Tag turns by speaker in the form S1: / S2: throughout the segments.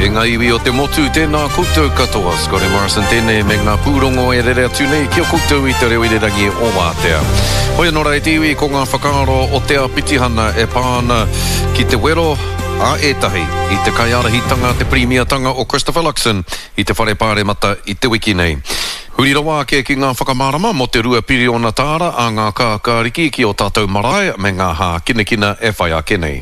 S1: E ngā iwi o te motu, tēnā koutou katoa. Scotty Morrison tēnei me ngā pūrongo e rere atu nei ki a koutou i te reo irirangi o Wātea. Hoi anō rā e te iwi, ko ngā whakaaro o te āpitihana e pā ana ki te wero a ētahi i te kaiārahitanga, te pirīmiatanga o Christopher Luxon i te Whare Pāremata i te wiki nei. Huri rawa ake ki ngā whakamārama mō te 2 piriona tāra a ngā kākāriki ki ō tātou marae me ngā hākinakina e whai ake nei.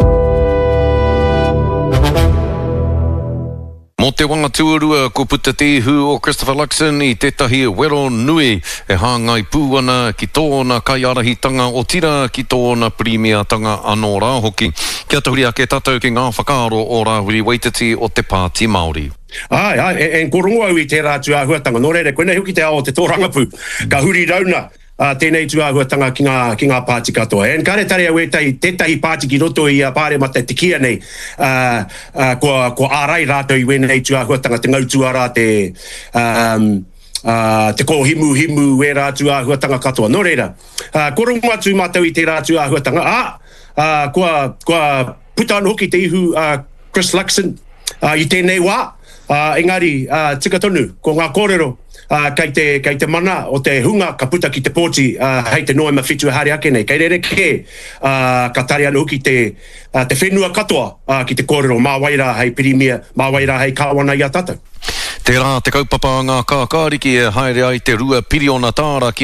S1: Mō te wā tuarua kua puta te ihu o Christopher Luxon i tētahi wero nui e hāngai pū ana ki tōna kaiārahitanga otirā ki tōna pirīmiatanga anō rā hoki. Kia tahuri ake tātou ki ngā whakaaro o Rāwiri Waititi o te Pāti Māori.
S2: Āe, āe, e, e, ko rongo au i tērā atu āhuatanga. Nō reira, koinei hoki te ao o te tōrangapū. Ka huri rauna uh, tēnei tū āhuatanga ki ngā, ki ngā pāti katoa. And kāre tare au ētahi, tētahi pāti ki roto i a Pāremata te kīia nei, uh, uh, kua, kua ārai rātou i wēnei tū āhuatanga, te ngau tuarā, te, um, uh, te kōhimuhimu, wērā tū āhuatanga katoa. Nō reira, uh, kua rongo atu mātou i tērā tū āhuatanga, ā, uh, kua, kua puta anō hoki te ihu a uh, Chris Luxon, i tēnei wā, engari tika tonu, ko ngā kōrero kei te, kei te mana o te hunga ka puta ki te pōti hei te Noema 7 e haere ake nei. Kei rerekē ka tare anō hoki te, te whenua katoa ki te kōrero mā wai rā hei Pirimia, mā wai rā hei Kāwana i a tātou.
S1: Tērā te kaupapa a ngā kākāriki e haere ai te 2 piriona tāra ki.